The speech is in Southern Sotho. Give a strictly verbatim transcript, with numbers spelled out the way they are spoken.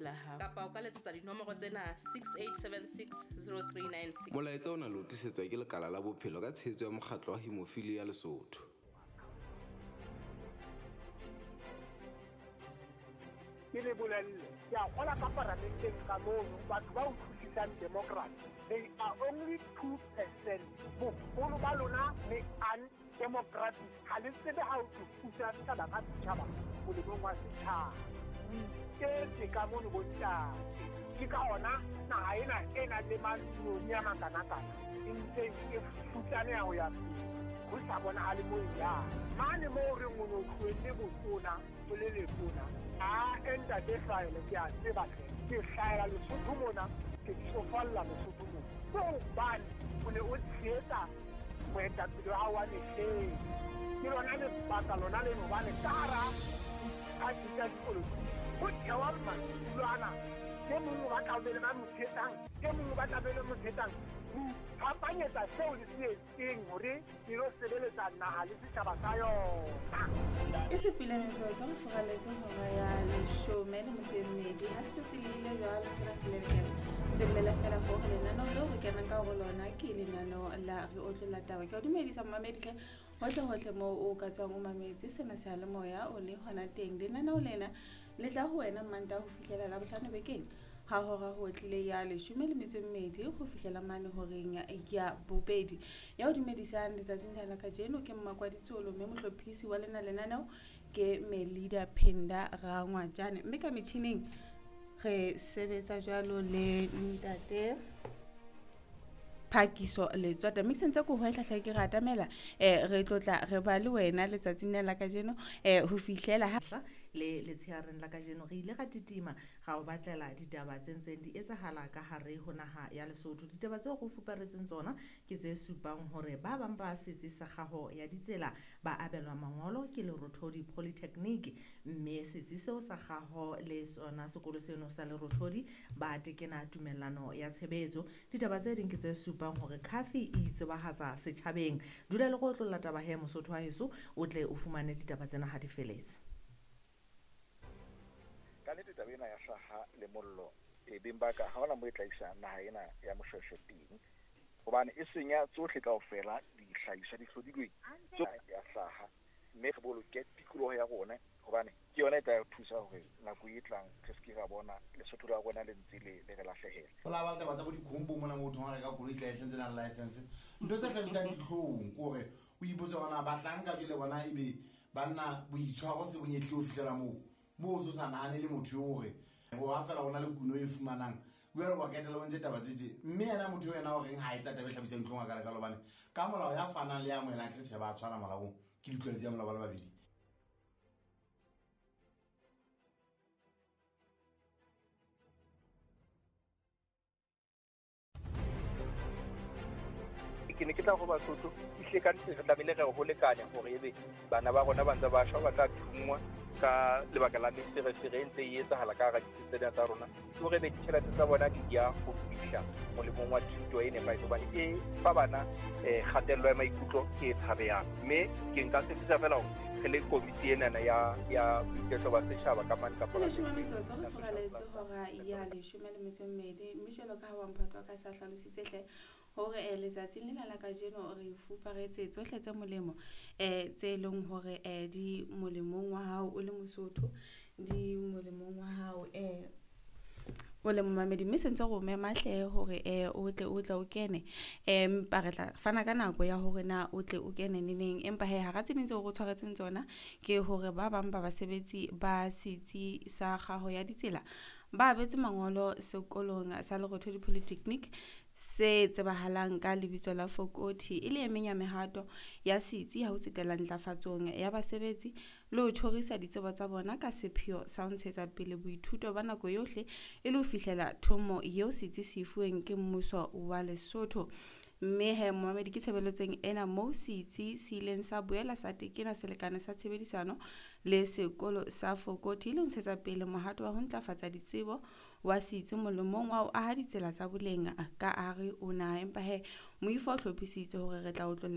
pela hao. Kapa o ka letsetsa dinomoro tsena six eight seven six zero three nine six. Molaetsa ona le o tlisetswa ke Lekala la Bophelo ka tshehetso ya Mokgatlo wa Hemophilia Lesotho. Ke le bolelle, ke a kgola ka paramenteng ka mono, batho ba utlwisisang democracy, they are only two percent. Boholo ba lona le undemocratic. Ha le tsebe ha o thusa setjhaba ka setjhaba molemong wa setjhaba. O iketse ka mono bontate. Ke ka hona naha ena e nang le maloni a makanakana e ntse e futsaneha ho ya pele. Ho sa bonahale moo e yang. Mane moo re reng o no tlohelle botona, o le letona. A ntate Hlahele, ke a tseba hle. Ke hlahela Lesotho mona, ke tsofalla Lesotho mona. Ke hobane o ne o tshehetsa moetapele wa hao wa mehleng. Ke lona lebaka lona leno hobane ka hara diphathi tsa dipolotiki ho thewa madulo ana. E mong o batla ho be le ba mo tshehetsang, e mong o batla ho be le mo tshehetsang. Ho iphapanyetsa seo le se etseng hore le lo sebeletsa naha le setjhaba sa yona. E supile metsotso re furaletse hora ya leshome le metso e mmedi. Ha se se lile jwalo sena se lelekela. Se bolela fela hore lenaneo leo re kenang ka ho lona ke lenaneo la Re Otlolla Taba. Ke o dumedisa momamedi hle hohle hohle moo o ka tswang o mametse sena seyalemoya o le hona teng. Lenaneo lena le tla ho wena Mantaha ho fihlela Labohlano bekeng ha hora ho tlile ya leshome le metso e mmedi ho fihlela mane horeng ya bobedi. Ya o dumedisang letsatsing la kajeno ke Mmakwaditsolo, mme mohlophisi wa lena lenaneo ke Melida Penda Rangwajane. Mme ka metjhining re sebetsa jwalo le ntate Phakiso Letswata. Mme ke sentse ko hwehla hle ke re atamela eh re tlotla re ba le wena letsatsing la kajeno eh ho fihlela ha le letsheareng la kajeno re ile ra titima ra o batlela ditaba tse ntseng di etsahala ka hare ho naha ya Lesotho. Ditaba tseo re fuparetseng tsona ke tse supang hore ba bang ba setsi sa kgaho ya ditsela ba abelwa mangolo ke Lerothodi Polytechnic, mme setsi seo sa kgaho le sona sekolo seno sa Lerothodi ba tekena tumellano ya tshebetso. Ditaba tse ding ke tse supang hore Khafi e itsebahatsa setjhabeng. Dula le go otlolla taba he Mosotho wa heso o tle o fumane ditaba tsena ha di feletse. Ka nnete taba ena ya hlaha le mollo e beng ba ka ha hona mo e tla isa naha ena ya Moshweshwe teng, hobane e senya tsohle kaofela dihlahiswa di hlodilweng tsohle ya hlaha, mme re boloke tikoloho ya rona hobane ke yona e tla re thusa hore nako e tlang re se ke ra bona Lesotho la rona le ntse le le re lahlehela. Ho la ba taba tsa bo dikhombo mona motho ha reka koloi tla e sentse na le license. Ntho tse hlabisang dihlong ke hore o ipotse hore na bahlanka jwale bona ebe banna boitshwaro se bonyehle ho fihlela moo. Moo o sa nahane le motho eo hore ho ha fela hona le kuno e fumanang. Jwale wa ketela o ntse taba tse tje. Mme yena motho eo yena o reng ha etsa taba e hlabisang dihlong a ka lekalo hobane ka molao ya fanang le ya amohelang ke tjhe ba tshwana molaong ke ditlwaelo tsa molao ba le babedi. Ke ne ke tla ho Basotho ehlile ka nnete re tlamehile re ho lekanya hore ebe bana ba rona ba ntse ba shwa ba tla thungwa ka lebaka la meferefere e ntse e etsahala ka hara ditsi tsena tsa rona, ke hore ebe ditjhelete tsa bona di ya ho fihla molemong wa thuto e nepahetseng hobane e fa bana um kgatello ya maikutlo e tshabehang. Mme ke nka tshepisa fela hore re le komiti enana ya ya boiketlo ba setjhaba ka mane kapa leshome metsotso re furaletse hora ya leshome le metso e mmedi. Mme jwalo ka ha wa mphato wa ka sa hlalositse hle hore eh letsatsing lena la kajeno re fuparetse tsohle tse molemo eh tse leng hore eh di molemong wa hao o le Mosotho, di molemong wa hao eh o le momamedi. Mme sentse re o mema hle hore eh o tle o tle o kene, empa re tla fana ka nako ya hore na o tle o kene neneng. Empa he hara tse ding tseo re tshwaretseng tsona ke hore ba bang ba basebetsi ba setsi sa kgaho ya ditsela ba abetse mangolo sekolong sa Lerothodi Polytechnic se tsebahalang ka lebitso la Fokothi, e le e meng ya mehato ya setsi ha ho tsetela ntlafatsong ya basebetsi le ho tjhorisa ditsebo tsa bona ka sepheo sa ho ntshetsa pele boithuto ba nako yohle e le ho fihlela thomo eo setsi se e fuweng ke mmuso wa Lesotho. Mme he momamedi ke tshebeletsong ena moo setsi se ileng sa boela sa tekena selekane sa tshebedisano le sekolo sa Fokothi e le ho ntshetsa pele mohato wa ho ntlafatsa ditsebo wa setsi molemong wa ho aha ditsela tsa boleng ka hare ho naha. Empa he moifo o hlophisitse hore re tla otlolla